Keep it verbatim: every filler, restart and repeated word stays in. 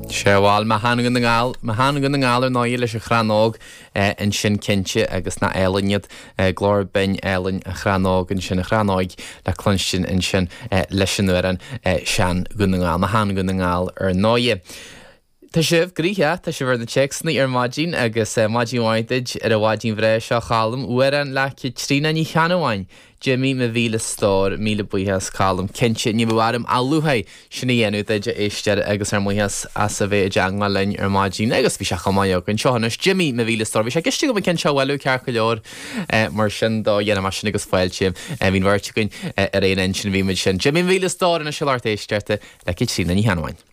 Sé bhuel mo shean-Dhún na nGall, mo shean-Dhún na nGall ar ndóigh leis an Chrann Óg ansin cinnte agus nach álainn iad, glór binn álainn an Chrann Óg ansin, an Chrann Óig le cluinstin ansin leis an amhrán Sean-Dhún na nGall, mo shean-Dhún na nGall ar ndóigh. Tá sibh gnoitheach, tá sibh ar na téacsanna ar maidin agus maidin mhaith duit ar an mhaidin bhreá seo Cholm, amhrán le Caitríona Ní Cheannabháin. Jimí mo mhíle stór, míle buíochas Colm. Cinnte, ní bheadh orm ach lúcháir sin a dhéanamh duit, a éisteoir, agus ár mbuíochas as a bheith i dteangmháil linn ar maidin. Agus bhí sé chomh maith againn. Seo anois Jimí mo mhíle stór. Bhí sé i gceist agam an ceann seo a bhailiú ceart go leor mar sin do dhéanfaidh mé sin agus fáilte. Bhí an bheirt againn ar aon intinn, bhí muid sin. Jimí mo mhíle stór anois a lucht éisteachta le Caitríona Ní Cheannabháin.